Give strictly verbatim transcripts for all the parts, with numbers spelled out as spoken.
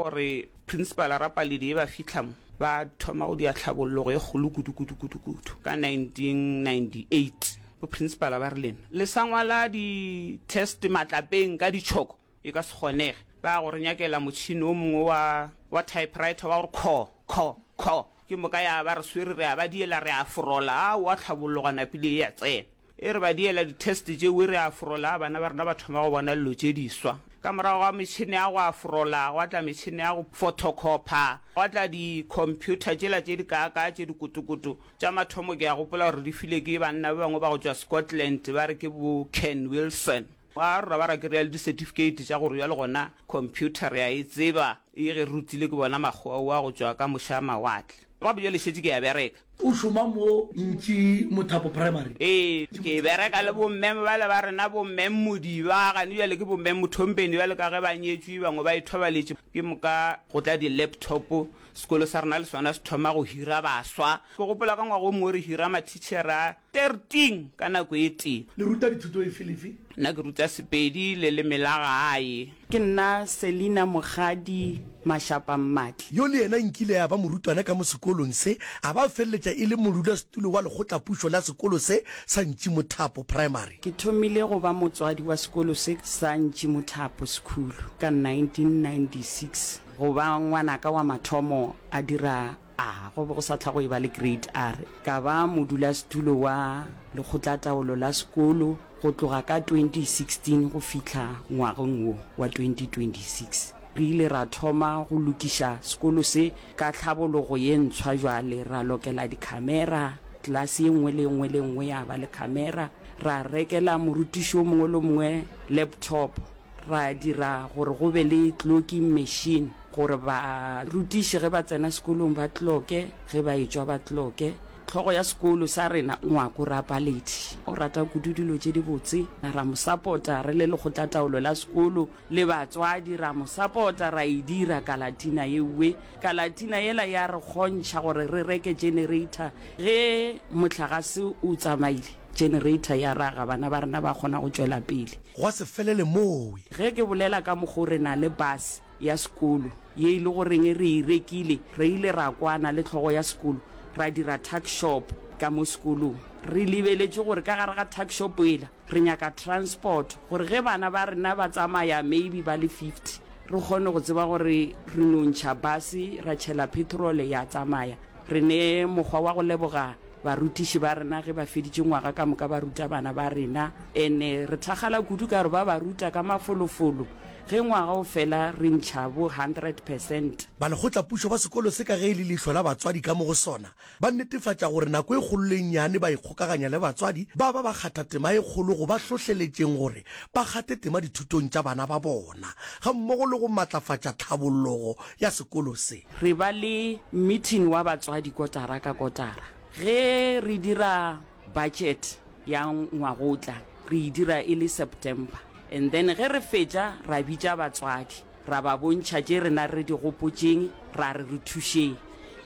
gore principal Rapaledi e ba fihla mo ba thoma go dia tlhabollogo e kgolo kudu kudu kudu kudu ka nineteen ninety eight. Bo principal ba re lena le sa ngwala di-test matlapeng ka ditšhoko e ka se kgonege. Ba go re nyakela motšhini o mongwe wa wa typewriter wa gore kho kho kho, ke moka ya ba re swere re a ba diela re a forola. Aowa, tlhabollogo napile e ya tsena. E re ba diela di-test tšeo re a forola, bana ba rena ba thoma go bona dilo tše diswa. Ka morago ga metšhini ya go aforola gwa tla metšhini ya go photocopya, gwa tla di-computer tšela tše di kaakaa tše dikotokoto. Tša mathomo ke a gopola gore di file ke banna ba bangwe ba go tšwa Scotland, ba re ke bo Ken Wilson. Ba rora ba ra kry-a le di-certificate tša gore bjale gona computer re a e tseba, e ge re rutile ke bona makgowa ao a go tšwa ka moše a mawatle. Gape bjale šetše ke a bereka. O šoma mo Ntši Mothapo Primary? Ee, ke bereka le bomme bale ba rena, bomme Modiba, gane bjale ke bomme Mothompeni, bjale ka ge ba nyetšwe, bangwe ba ithobaletše. Ke moka go tla di-laptop, sekolo sa rena le sona se thoma go hira baswa. Ke gopola ka ngwaga o mongwe re hira mathitšhere a thirteen ka nako e tee. Le ruta dithuto efe le efe? Nna ke ruta Sepedi le leme la gae. Ke nna Selina Mokgadi Mashapa Mmatli. Yo le yena nkile ya ba morutwana ka mo sekolong se, a ba feleletša e le modulasetulo wa lekgotlapušo la sekolo se sa Ntšimothapo Primary. Ke thomile go ba motswadi wa sekolo se sa Ntšimothapo School ka nineteen ninety six. Go ba ngwanaka wa mathomo a dira A, go be go sa tla go e ba le Grade R. Ka ba modulasetulo wa lekgotlataolo la sekolo go tloga ka twenty sixteen go fihla ngwageng wo wa twenty twenty six. Re ile ra thoma go lokiša sekolo se ka tlhabologo ye ntshwa bjale, ra lokela dikhamera, klase ye nngwe le ye nngwe le ye nngwe ya ba le khamera, ra rekela morutiši o mongwe le o mongwe laptop, ra dira gore go be le clocking machine gore barutiši ge ba tsena sekolong ba clocke, ge ba etšwa ba clocke. Hlogo ya sekolo sa rena, Ngwako Rapaledi, o rata kudu dilo tše dibotse. Ra mo sapota re le lekgotlataolo la sekolo le batswadi, ra mo sapota ra e dira kalatina yeuwe. Kalatina yela ya re kgontšha gore re reke generator ge mohlagase o tsamaile. Generator ya raga, bana ba rena ba kgona go tšwela pele. Gwa se felele mowe. Ge ke bolela ka mokgo re na le bus ya sekolo ye e le goreng re e rekile, re ile ra kwana le hlogo ya sekolo ra dira tuck shop ka mo sekolong. Re lebeletše gore ka gare ga tuck shop yela re nyaka transport gore ge bana ba rena ba tsamaya maybe ba le fifty re kgone go tseba gore re no ntšha bus ra tšhela petrol ya tsamaya. Re ne mokgwa wa go leboga barutiši ba rena ge ba feditše ngwaga ka moka ba ruta bana ba rena, ene re thakgala kudu ka gore ba ba ruta ka mafolofolo. Ge ngwaga o fela re ntšha bo hundred percent. Balekgotlapušo ba sekolo se ka ge e le leihlo la batswadi ka mo go sona, ba netefatša gore nako e kgolo le e nnyane ba ikgokaganya le batswadi ba ba ba kgatha tema e kgolo go ba hlohleletšeng gore ba kgate tema dithutong tša bana ba bona gammogo le go matlafatša tlhabollogo ya sekolo se. Re ba le meeting wa batswadi kotara ka kotara. Ge re dira budget ya ngwagotla re e dira e le September, and then ge re fetša ra bitša batswadi ra ba bontšha tše rena re di gopotšeng, ra re re thušeng.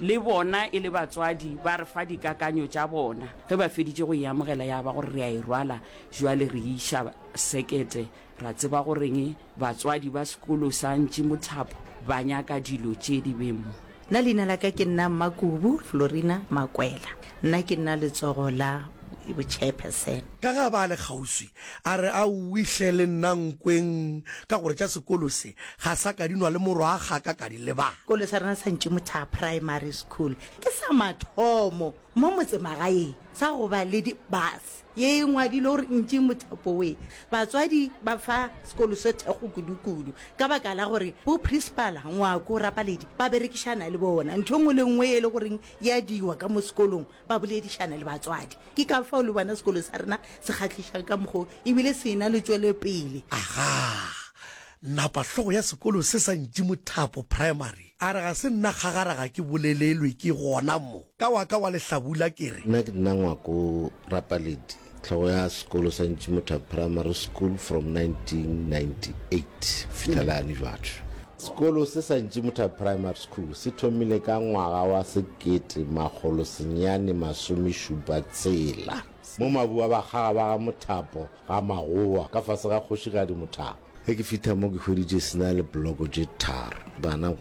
Le bona e le batswadi ba re fa dikakanyo tša bona. Ge ba feditše go e amogela ya ba gore re a e rwala, jwale re e iša sekete, ra tseba goreng batswadi ba sekolo sa Ntšimothapo ba nyaka dilo tše di be mo. Nna leina la ka ke nna Mmakubu Florina Makwela. Nna ke nna letsogo la bo-chairperson. Ka ge a ba a le kgauswi, a re, Aowi hle le nna nkweng, ka gore tša sekolo se ga sa ka di nwa le morwa a gaka ka di lebala. Sekolo sa rena sa Ntšimothapo Primary School ke sa mathomo mo motsemagaeng sa go ba le di-bus ye e ngwadilwe gore Ntšimothapo we. Batswadi ba fa sekolo se thekgo kudu-kudu ka baka la gore bo principal Ngwako Rapaledi ba berekišana le bona. Ntho e nngwe le nngwe e le goreng ya diwa ka mo sekolong ba boledišana le batswadi. Ke ka fao le bona sekolo sa rena se kgahlišang ka mokgo ebile se na le tšwelopele. Agaa, napa hlogo ya sekolo se sa Ntšimothapo Primary a re ga se nna kgagara ga ke bolelelwe ke gona mo. Ka wa ka wa lehlabula ke re. Nna ke nna Ngwako Rapaledi, hlogo ya sekolo sa Ntšimothapo Primary School from nineteen ninety eight go fihla le gane jwale. Sekolo se sa Ntšimothapo Primary School se thomile ka ngwaga wa sekete makgolo senyane masomešupa tshela mo mabu a bakgaga ba ga Mothapo ga Magowa ka fase ga Kgošigadi Mothapo. Ge ke fihla mo ke hweditše se na le bloko tše tharo. Bana